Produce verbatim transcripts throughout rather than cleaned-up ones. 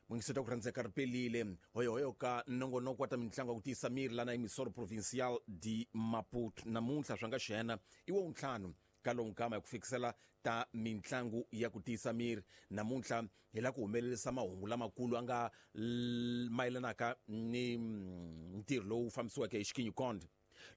Mungiseta ku rhandzeka ri pelile hoyohoyo ka nongonoko wa ta mitlangu ya ku tiyisa miri lana emisoro provincial de Maputo namuntlha swa nga xena i wa ntlhanu ka lonkama ya ku fikisela ta mitlangu ya ku tiyisa miri namuntlha hi la ku humelerisa mahungu lamakulu a nga mayelanaka ni ntirho lowu fambisiweke hi Xikinyikond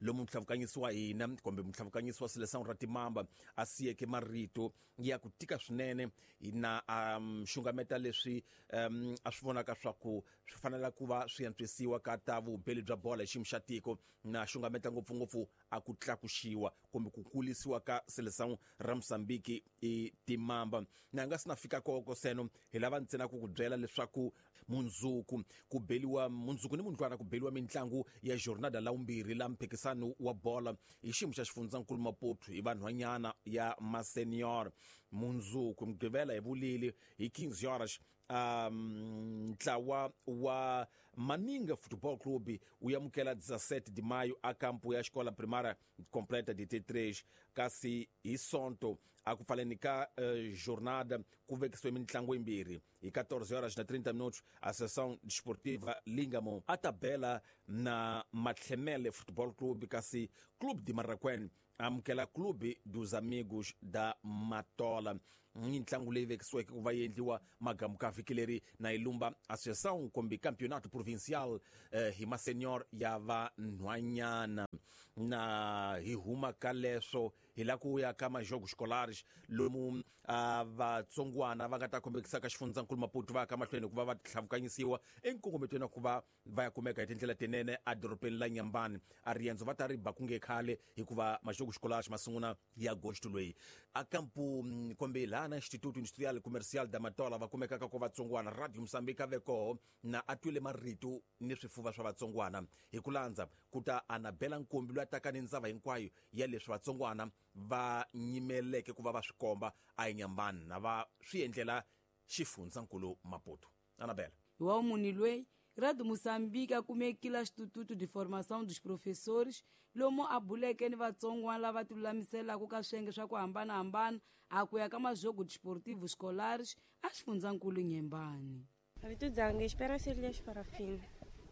lomu mutlhavukanyisi wa hina kumbe mutlhavukanyisi wa Seleção ra Timamba a siyeke marito ya ku tika swinene na um, xungameta leswi um, a swi vonaka swa ku swi fanela ku va swi antswisiwa ka ta vubeli bya bola hi xiyimo xa tiko na xungameta ngopfungopfu a ku tlakuxiwa kumbe ku kulisiwa ka Seleção ra Mozambique i Timamba na nga sina fika koko seno hi lava ntsena ku ku byela leswaku mundzuku ku beliwa mundzuku ni mundlwana ku beliwa mitlangu ya jornada la vumbirhi la mphikisano wa bola hi xiyimo xa xifundzankulu Maputo hi vanhwanyana ya masenior mundzuku mugqivela hi vulili hi Kings Horas um ntlawa wa Maninga Football Club wu amukela dezessete de maio a campo ya escola primária completa de T três kasi hi sonto a ku pfaleni ka uh, jornada ku vekisiwe mitlangu yimbirhi hi quatorze horas na trinta minutos a sessão desportiva Lingamo a tabela na Matlhemele Football Club kasi Clube de Marraquém amukela Clube dos Amigos da Matola mitlangu leyi vekisiweke ku va yi endliwa magamu ka vhiki leri na yi lumba associação kumbe campeonato provincial eh, hi masenior ya vanhwanyana na hi huma ka leswo hi la ku ya ka majogo scolares lomu uh, vatsongwana va nga ta kombekisa ka xifundzankulu Maputo va ya ka mahlweni ku va va tlhavukanyisiwa enkongometweni ku va va ya kumeka hi tindlela tinene edorobeni la Nyambani a riendzo va ta ri ba ku nge khale hikuva majogo scolares ma sungula ya agosto loyi a kampu kumbe laha na Instituto Industrial Comercial da Matola va kumekaka ko vatsongwana Radio Mozambique a ve koho na a twile marito ni swifuva swa vatsongwana hi ku landza ku ta Anabela Nkombi loyi a taka ni ndzava hinkwayo ya leswi vatsongwana va nyimeleke ku va va swi komba a eNyambani na va swi endlela xifundzankulu Maputo. Anabela wa muni loyi Radio Moçambique a kumekile Instituto de Formação dos Professores lomu a buleke ni vatsongwana lava tilulamiselaka ka swiyenge swa ku hambanahambana a ku ya ka majogo desportivo escolares a xifundzankulu Nyembani. Vito dzanga Esperança Elias Parafina,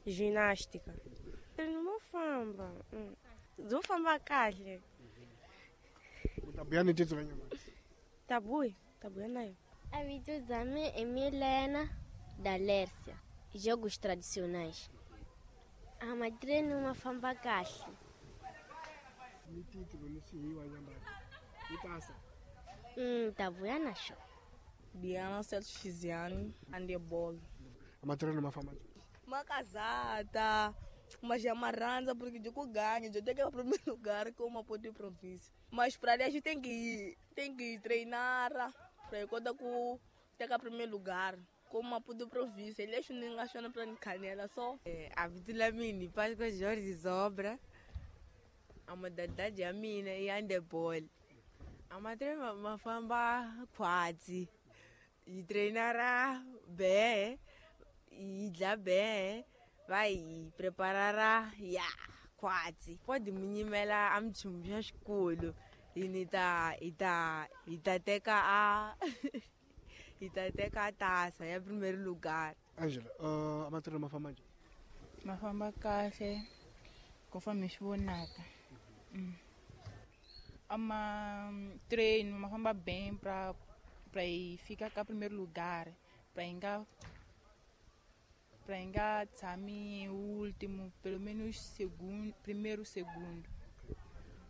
ginástica. Mo famba, dzo famba kahle. Tabuya ni titso nyama. Tabuya, tabuya nayo. A vito dzame é Milena da Lércia. Jogos tradicionais. A madrina uma famba kahle. Ni titlo ni sihiwa nyamba. Ni pasa. Mm, tabuya nasho. Diana Celso Chiziane, handebol. A madrina uma famba. Uma casada, mas já maranza porque eu ganho, eu tenho que ir para o primeiro lugar com uma ponte de província. Mas para ali a gente tem que ir, tem que ir treinar para ir conta com ter o primeiro lugar. Como uma ponte de província, ele acha que não achando para canela só. É, a Vitula Mini, Páscoa Jorge Zobra, a modalidade a mina e handebol. A madre uma famba quase. E treinará bem, e lá bem, vai preparará, ya, quase. Pode me nimela am chumja escolo, e nita ita ita teka a ita teka a taça, é primeiro lugar. Angela, uh, a matéria uma fama uma famba kahle, conforme xivonaka. Mm. Ama treino, uma famba bem para para ir ficar cá primeiro lugar, para inga para inga tshami último, pelo menos segundo, primeiro segundo.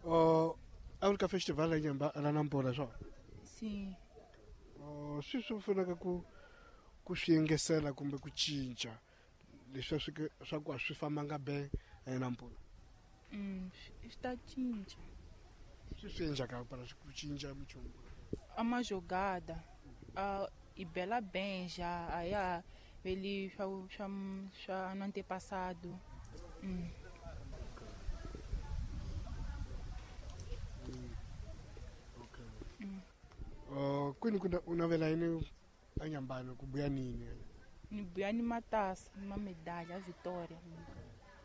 Oh, a única festival é em lá na Nampula só. Sim. Oh, se isso for na ku ku xingesela kumbe ku cinca, leswi swi swa ku swi fambanga bem em Nampula. Mm, está cinca. Swi swi endlaka para ku cinca minchumu. Uma jogada, uh, e bela bem já, aí a, ele já, já, já no antepassado. Hum. Mm. Okay. Mm. Uh, kwini kuna unavela yini anyambano kubuya nini? Ni buya ni matassa, uma medalha, a vitória.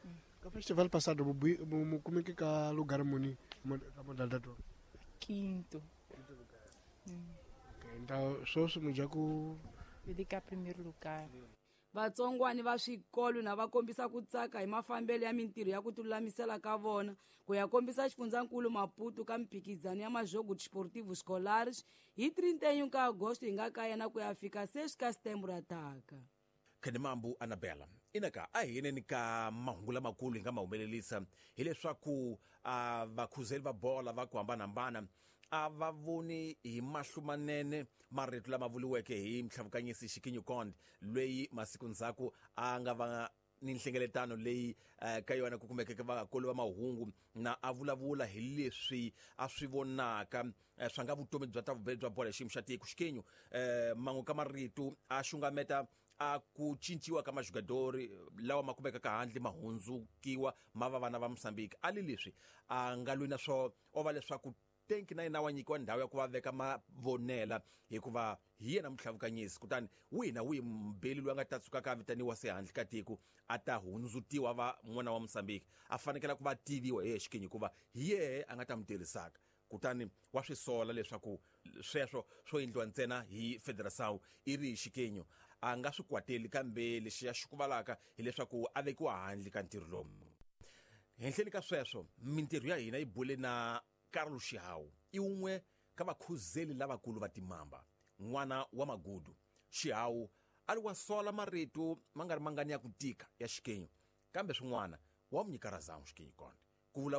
Mm. Ka festival passado mu kumeke ka lugar muni ka modalidade? Quinto. Quinto lugar. Mm. Okay, então só se muja ku Dedicar primeiro lugar. Vatsongwani va swikolo na va kombisa ku tsaka hi mafambelo ya mintirho ya ku tilulamisela ka vona ku ya kombisa xifundzankulu Maputo ka mphikizano ya majogo desportivo escolares hi trinta e um ka agosto hi nga ka yena ku ya fika seis ka setembro ataka. Khenimambu Anabela inaka a hi yeneni ka mahungu lamakulu hi nga ma humelerisa hileswaku a vakhuzeli va bola va ku hambanahambana a va voni hi mahlo manene marito lama vuriweke hi mtlhavukanyisi Xikinyo Konde loyi masiku ndzhaku a nga va ni nhlengeletano leyi ka yona ku kumekeke vakulu va mahungu na a vulavula hi leswi a swi vonaka swa nga vutomi bya ta vubeli bya bola xiyimo xa tiko. Xikinyo man'we ka marito a xungameta a ku cinciwa ka majugadori lawa ma kumekaka handle ma hundzukiwa ma va vana va Mozambique. A li leswi a nga lwi na swo o va leswaku tenki na yena wa nyikiwa ndhawu ya ku va veka mavonela hikuva hi yena mutlhavukanyisi, kutani wihi na wihi mbeli loyi a nga ta tsukaka a vitaniwa se handle ka tiko a ta hundzutiwa va n'wana wa Mozambique a fanekela ku va tiviwa hi Xikinyo hikuva hi yehe a nga ta mi tirhisaka. Kutani wa swi sola leswaku sweswo swo endliwa ntsena hi Federação i ri Xikinyo a nga swi kwateli, kambe lexi ya xikuvalaka hileswaku a vekiwa handle ka ntirho lowu. Henhleni ka sweswo mintirho ya hina yi bule na Carlos Xihawu, i wun'we ka vakhuzeli lavakulu va timamba, n'wana wa Magudu. Xihawu a ri wa sola marito ma nga ri mangani ya ku tika ya Xikinyo, kambe swin'wana wa mu nyika razão Xikinyo Konde.